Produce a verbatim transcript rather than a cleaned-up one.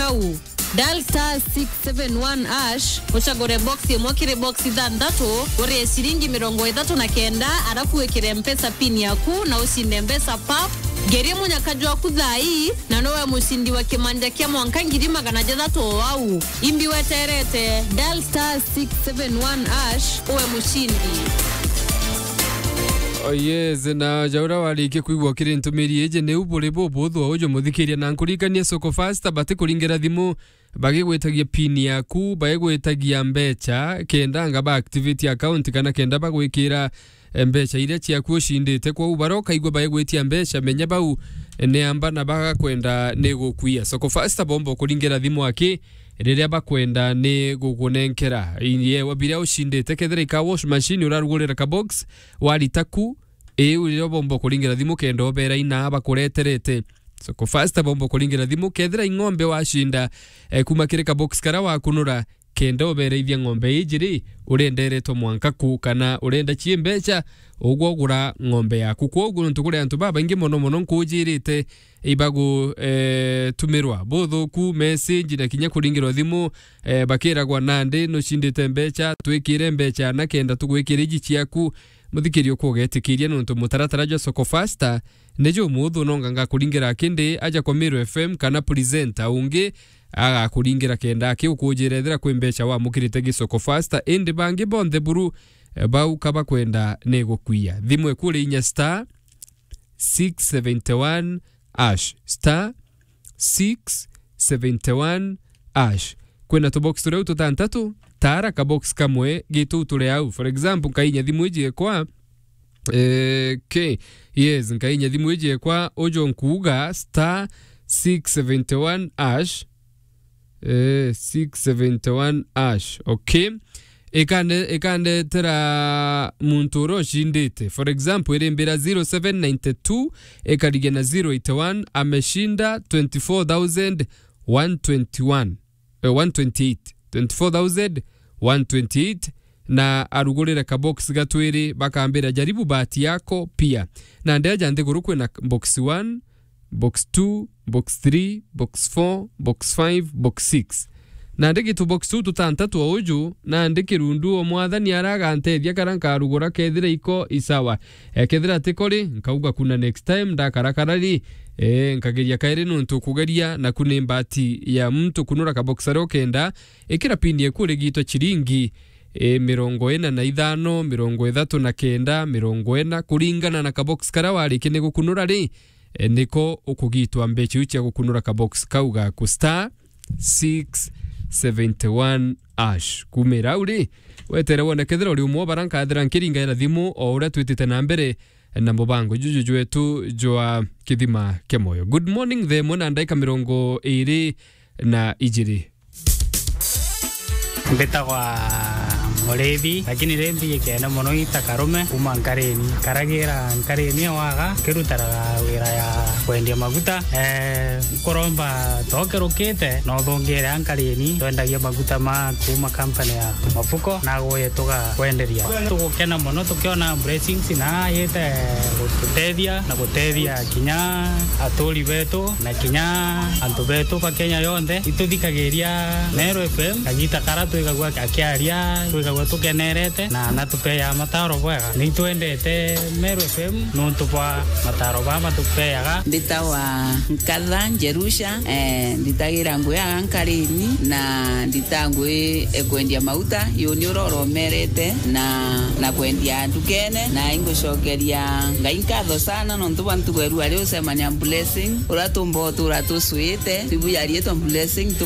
au. Dial star six seven one hash, ucagure box imwe kiri box ithanthatu, urie ciringi mirongo ithatu na kenda, arafu wikire Mpesa pin yaku na ucinde mbeca pap. Ngeria munyaka jwaku thaa ii, na nowe mucindi wa kimanja kia mwanka ngiri magana jathatu o au. Imbi weterete, dial star six seven one hash, uwe mucindi. Oh yes, na ja uria warikia kwigua kiri ntumiri iji, niu buri bubuthu o uju muthikiria, na nkuririkanie Soko Fasta bati kuringira thimu bagigwitagia pin yaku, bagigwitagia mbecha, kenda anga ba activate account kana kenda bagwikira, eh, mbecha iria ciaku ucindite. Kwou baria ukaigua bagigwitia mbecha, menya bau, eh, ni amba na bagakwenda ni gukwia. Soko Fasta bomba ukuringira thimu aki riria bakwenda ni gukunenkera. Yewa biria ucindite, kethira ika wash machine urarugurira ka box, warita ku, iu riria bomba kuringira thimu kenda ubera ina bakureterete. Soko Fasta bomba kuringira thimu, kethira ing'ombe wacinda, eh, kuma kiri ka box karia wakunura, kenda ubereithia ng'ombe iji ri, urenderetwe mwanka ku, kana urenda cie mbecha, ugwe ugura ng'ombe yaku. Kwoguo nontu kuri antu babaingi mono mono nkujirite ibagu, eh, tumirwa buthuku, message na kinya kuringirwa thimu, eh, bakiragwa, "Nandi nucindite mbecha, twikire mbecha na kenda tugwikire iji ciaku." Muthikiria ukugetikiria nontu mutaratara jwa Soko Fasta ni jumuthu, nonga ngakuringira kindi aja kwa Meru F M kana presenter ungi agakuringira kenda aki ukujira ethira kwi mbecha wamukirite gi Soko Fasta, indi bangi bonthe buru, eh, bau ka bakwenda ni gukwia. Thimu ikuri inya star six seventy one hash, star six seventy one hash. Kwina tubox turia tutantatu, tara kabox kamwe gitu turi au. For example, nkainya thimu iji ekwa, eh, ke, yes, nkainya thimu iji ekwa, ujo nkuuga star six seventy one hash, eh, six seventy one hash, okay? Ikande-, ikandetera muntu uria ucindite. For example, irimbira zero seven nine two, ikarigia na zero eight one, ameshinda twenty four thousand one twenty one, eh, one twenty eight. Twenty four thousand one twenty eight, na arugurire ka box gatwiri, bakambira, "Jaribu bahati yako pia." Na ndeja nthiguru kwina box one, box two, box three, box four, box five, box six. Nandi gitu box tu tutantatu o uju, nandi kirundu o Mwathani aragantethia kara nkarugura, kethira iko isawa. Ekethira tiko ri, nkauga kuna next time ndakarakara ri, eh, nkageria kairi nontu kugeria naku ni mbati ya muntu kunura ka box aria ukenda, ikira pin eku urigitwe chiringi, eh, mirongo ina na ithano, mirongo ithatu na kenda, mirongo ina, kuringana na ka box karia warikia ni gukunura ri, eh, niko ukugitwa mbecha iu cia gukunura ka box kau gaku star six seventy one hash. Kumira au ri, wetere wone kethira uri umwe o bara nkathira nkiringaira thimu o uria twitite na mbere na mubango juju jwetu jwa Kithima kia Moyo. Good morning, thaa imwe na ndaika mirongo iri na ijiri. Mbitagwa Murithi, lakini ri mbijikene mono ita Karume kuma Nkarini. Karagira Nkarini waga, kirutaraga wira ya kwendia maguta. Eh, nkuromba tokirukite, no thungire a Nkarini, twendagia maguta ma kuma company ya Mafuko, na aguye tugakwenderia. Tugukena mono tukiona blessings na yite gututethia na gutethia kinya aturi betu na kinya antu betu ba Kenya yonthe. Ituthikagiria Meru F M, kagita kara twigagua akiaria, twigagua tukenerete na natupeaga mataro bwega. Nitwendete Meru F M nontu bwa mataro baa matupeaga. Mbitawa Nkatha Njerusha, eh, nditagira ngui aga Nkarini na ndita ngui e kwendia mauta, yuni uroromerete na, na kwendia ndukene, na ingucokeria Ngai nkatho sana nontu bwa ntugo eru ari ucemania blessing, uria tumba utura tucwite, ibu yarietwa blessing, tu